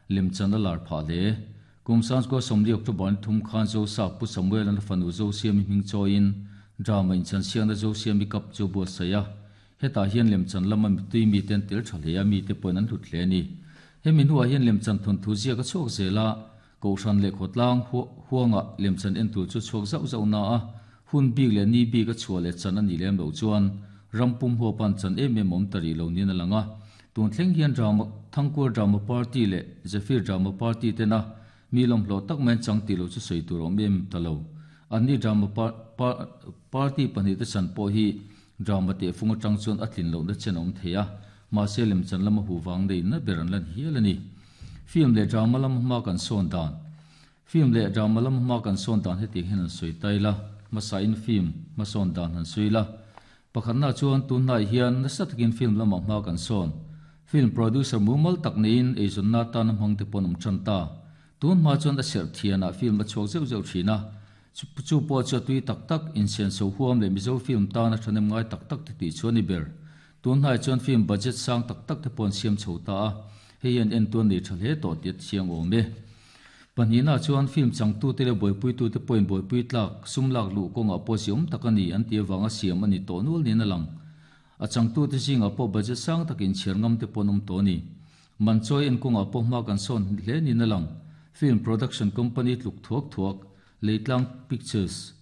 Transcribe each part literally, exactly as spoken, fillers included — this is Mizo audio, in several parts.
Lemchan a lar phah hle. Kum sangkua sawmli October ni thum khan Zosap Pu Samuel an fanu Zosiami hming chawiin drama inchan siakna Zosiami Cup chu a buatsaih a. Hetah hian lemchan lama mitui mite an tel tha hle a, mite pawhin an hlut hle a ni. Hemi hnuah hian lemchan thawnthu ziak a chhuak zel a, Kohhran leh khawtlang huanga lemchan en tur chu chhuak zauh zauh na a, hun bik leh ni bik a chhuah leh chan a nih lem loh chuan ram pum huapan chan em em awm ta rih lo niin a lang a. Tun thleng hian Drama, Thangkuar Drama Party leh Zephyr Drama Party tena mi lawmhlawh tak mai an chang tih loh chu sawi tur a awm em ta lo. Anni Drama Party pahnih te chan pawh hi Drama tehfung atang chuan a tlin lohna chen a awm thei a, mahse lemchan lama huh vang neiin a ber an lan hial a ni. Film leh drama lama hma kan sawn dan Film leh drama lama hma kan sawn dan hetiang hian han sawi ta ila, hmasain film hmasawn dan han sawi ila. Pakhatna chuan tunhnai hian nasa takin film lamah hma kan sawn. Film producer mumal tak neiin eizawnna atana hmang te pawh an awm tan ta. Tun hma chuan a serh thianah film a chhuak zeuh zeuh thin a, chu pawh chu a tui tak tak, insianso huam leh Mizo film tana thahnem ngai tak tak te tih chu a ni ber. Tunhnai chuan film budget sang tak tak te pawh an siam chho ta a, hei hian entuan nei tha hle tawh tih a thiang awm e. Pahnihna chuan film changtute leh buaipuitute pawhin buaipui tlak, sum lak luh kawngah pawh ziawm tak a ni an tih avanga siam a ni tawh nual niin a lang. A changtute zingah pawh budget sang takin chhiar ngam te pawh an awm tawh a ni. Man chawi en kawngah pawh hma kan sawn hle niin a lang. Film production company tluk thuak thuak, Leitlang Pictures,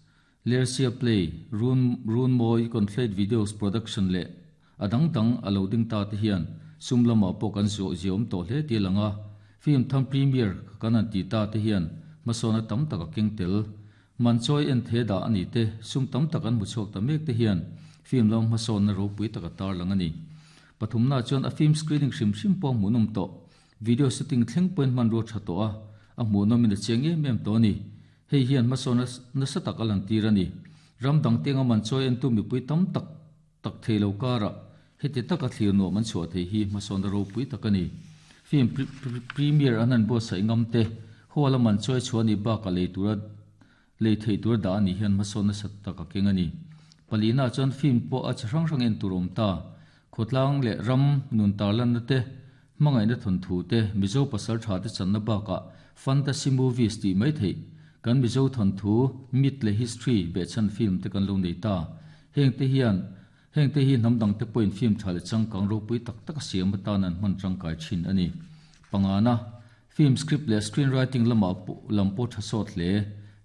Lersia Play, Run Runmawi Conflate Videos Production leh a dang dang a lo ding ta te hian sum lamah pawh kan zuah ziawm tawh hle tih a lang a. Film tham premiere kan han ti ta te hian hmasawna tam tak a keng tel. Man chawi en the dah a ni te, sum tam tak an hmu chhuak ta mek te hian film lam hmasawnna ropui tak a tarlang a ni. Pathumna chuan a film screening hrim hrim pawh a hmuhnawm tawh. Video shooting thleng pawhin hmanrua tha tawh a, a hmuhnawmin a chiang em em tawh a ni. Hei hian hmasawnna nasa tak a lantir a ni. Ram dang tenga man chawi entu mipui tam tak tak thei lo karah heti taka thlir nuam an chhuah thei hi hmasawnna ropui tak a ni. Film premiere an han buatsaih ngam te, hall a man chawi chhuah nih bakah lei tura lei theih tur dah a nih hian hmasawn nasa tak a keng a ni. Palina chuan film pawh a chi hrang hrang en tur a awm ta. Khawtlang leh ram nun tarlanna te, hmangaihna thawnthu te, Mizo pasal tha te channa bakah fantasy movies tih mai theih kan Mizo thawnthu, myth leh history behchhan film te kan lo nei ta. Heng te hian heng te hi hnam dang te pawhin film tha leh changkang ropui tak tak a siam atan an hman tangkai thin a ni. Pangana, film script leh screenwriting lamah lam pawh tha sawt hle.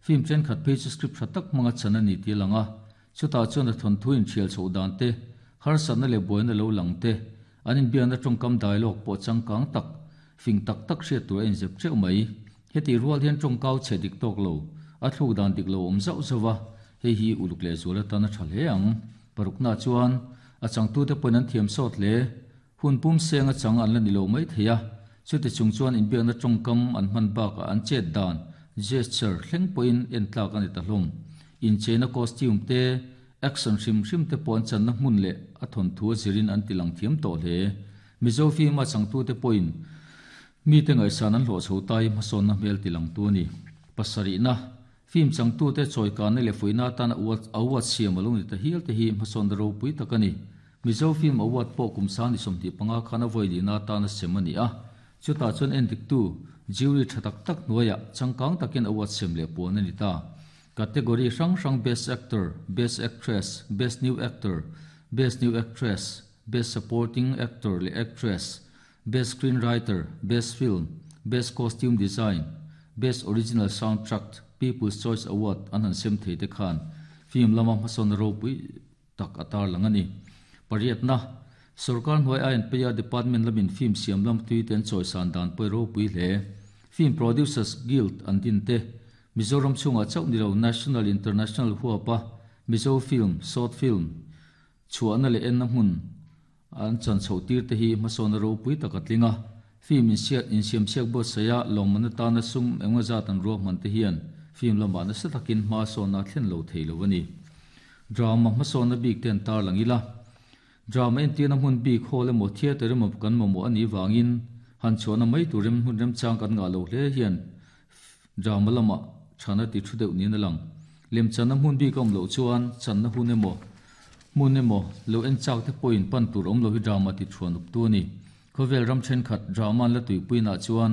Film thenkhat phei chu script tha tak hmanga chan a ni tih a lang a, chutah chuan a thawnthu inhrial chhoh dan te, harsatna leh buaina lo lang te, an inbiakna tawngkam dialogue pawh changkang tak, fing tak tak hriat tur a inzep teuh mai. Hetih rual hian tawngkau chhe dik tawk lo, a thluk dan dik lo awm zauh zauh a, hei hi uluk leh zual atan a tha hle ang. Parukna chuan a changtute pawhin an thiam sawt hle. Hun pum seng a chang an la ni lo mai thei a, chuti chung chuan inbiakna tawngkam an hman bakah an chet dan, gesture, thleng pawhin en tlak a ni ta hlawm. Incheina costume te, action hrim hrim te pawh an channa hmun leh a thawnthu a zirin an ti lang thiam tawh hle. Mizo film a changtute pawhin mite ngaihsan an hlawh chho ta hi hmasawnna hmel ti langtu a ni. Pasarihna, film changtute chawikana leh fuihna atana award siam a lo ni ta hial te hi hmasawnna ropui tak a ni. Mizo Film Award pawh kum sang ni sawmhnih panga khan a vawi lihna atana sem a ni a, chutah chuan endiktu jury tha tak tak hnuaiah changkang takin award sem leh puan a ni ta. Category hrang hrang Best Actor, Best Actress, Best New Actor, Best New Actress, Best Supporting Actor leh Actress, Best Screenwriter, Best Film, Best Costume Design, Best Original Soundtrack, People's Choice Award an han sem thei te khan film lama hmasawnna ropui tak a tarlang a ni. Pariatna, Sorkar hnuai I N P A Department lamin film siam lam tui te an chawisan dan pawh i ropui hle. Film Producers Guild an din te, Mizoram chhungah chauh ni lo National International huapa Mizo film, short film, chhuahna leh enna hmun an chan chhoh tir te hi hmasawnna ropui tak a tling a. Film insiat insiamchhiak buatsaih a lawmman atana sum engemaw zat an ruahman te hian film lamah nasa takin hma sawnna a thlen lo thei lo a ni. Drama hmasawnna bik te an tarlang ila. Drama entirna hmun bik hall emaw theatre emaw kan mamawh a nih vangin han chhuahna mai tur rem hmun remchang kan ngah lo hle hian drama lamah thana ti thu deuh niin a lang. Lemchanna hmun bik a awm loh chuan channa hun emaw hmun emaw lo en chak te pawhin pan tur awm lo hi drama ti thuan up tu a ni. Khawvel ram thenkhat drama an la tuipuinah chuan